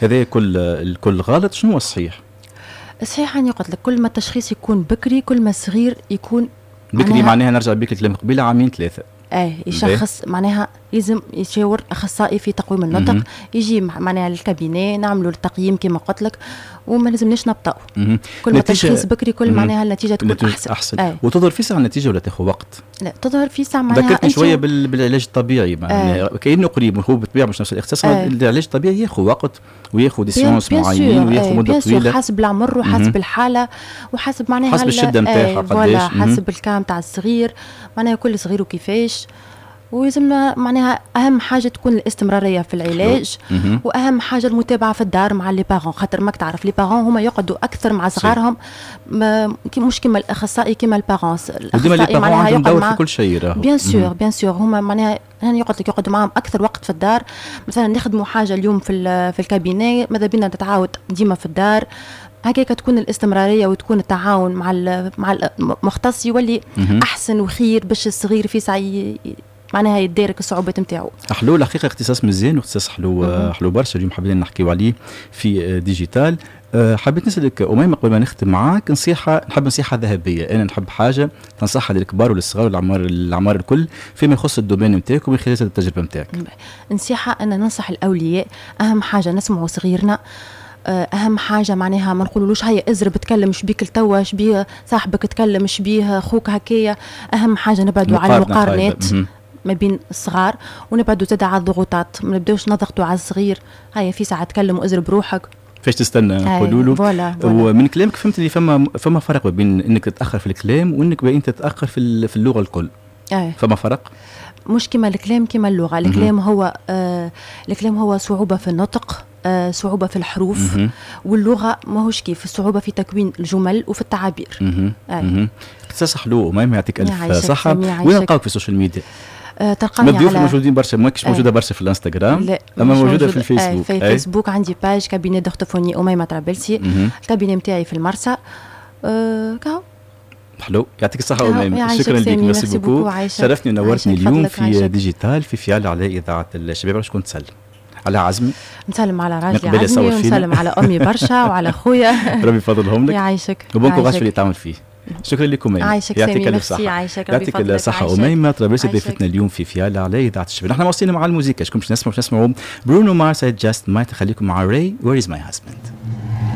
هذا كل الكل غلط. شنو هو الصحيح؟ الصحيح اني قلت لك كل ما التشخيص يكون بكري، كل ما الصغير يكون بكري، معناها نرجع بك الكلام قبيلة عامين ثلاثه. ايه، يشخص معناها لازم يشاور اخصائي في تقويم النطق، يجي معناها لل cabinet، نعملوا التقييم كما قلت لك، وما لازمناش نبطأ. كل ما تشخيص بكري كل معناها النتيجة تكون احسن. احسن. وتظهر في ساعة النتيجة ولا تاخذ وقت؟ لا، تظهر في ساعة معناها. ذكرتني شوية بالعلاج الطبيعي، معناها كانه قريب، هو بالطبيعة مش نفس الاختصاص. العلاج الطبيعي ياخذ وقت وياخذ des séances معينين وياخذ مده طويله. حسب العمر وحسب الحالة وحسب معناها حسب الشدة نتاعها. قداش، حسب ال cas تاع الصغير، معناها كل صغير وكيفاش. ويلزمنا معناها اهم حاجة تكون الاستمرارية في العلاج، واهم حاجة المتابعة في الدار مع les parents، خاطر ماك تعرف les parents هما يقعدوا اكثر مع صغارهم، مش كيما الاخصائي، كيما ال parents. الاخصائي معناها عندهم دور في كل شيء. bien sûr، bien sûr، هما معناها هاني قلت لك يقعدوا معاهم اكثر وقت في الدار. مثلا نخدموا حاجة اليوم في ال cabinet، ماذا بينا تتعاود ديما في الدار، هكاك تكون الاستمرارية وتكون التعاون مع المختص يولي احسن وخير باش الصغير في ساعة معناها يدارك الصعوبات نتاعو. حلو الحقيقه، اختصاص مزيان واختصاص حلو، حلو برشا. اليوم حابين نحكيو عليه في digital. حبيت نسالك اميمة قبل ما نختم معاك نصيحه، نحب نصيحة ذهبيه، انا نحب حاجة تنصحها للكبار وللصغار والأعمار، الاعمار الكل، فيما يخص ال domaine نتاعك ومن خلال التجربة نتاعك. نصيحة انا ننصح الاولياء، اهم حاجة نسمعوا صغيرنا، اهم حاجة معناها ما نقولولوش هيا ازرب تكلم، شبيك لتوا، شبيه صاحبك تكلم، شبيه خوك هكايا. اهم حاجة نبعدوا على المقارنات ما بين الصغار، ونبعدوا زاد على الضغوطات، ما نبداوش نضغطوا على الصغير، هيا في ساعة تكلم وازرب روحك. فاش تستنى نقولوا له. voilà. ومن كلامك فهمت اللي فما فرق بين انك تتاخر في الكلام وانك انت تتاخر في اللغة الكل. فما فرق؟ مش كما الكلام كما اللغه. الكلام هو صعوبة في النطق، صعوبة في الحروف، واللغة ماهوش كيف، الصعوبة في تكوين الجمل وفي التعابير. اختصاص حلو أميمة، يعطيك ألف صحة. وين نلقاوك في ال social media؟ تلقاني الضيوف الموجودين برشا، ماكش موجودة برشا في الانستغرام. لا. اما موجودة في الفيسبوك. في الفيسبوك عندي page cabinet d'orthophonie اميمة طرابلسي، ال cabinet نتاعي في المرسى. كهو. حلو، يعطيك الصحة أميمة، شكرا لك، merci beaucoup، شرفتني ونورتني اليوم في digital في فيال على إذاعة الشباب. شكون تسلم على عزمي؟ نسلم على راجلي عزمي، ونسلم على امي برشا وعلى خويا. ربي يفضلهم لك. يعيشك. و bon courage في اللي تعمل فيه. شكرا لكم. عايشك. يعطيك الف صحة. عايشك. يعطيك الصحة أميمة طرابلسي، ضيفتنا اليوم في فيالا على إذاعة الشباب. نحن واصلين مع الموسيقى. شكون باش نسمعوا؟ باش نسمعوا برونو مارس، I Just Might. خليكم مع Ray، Where is my husband.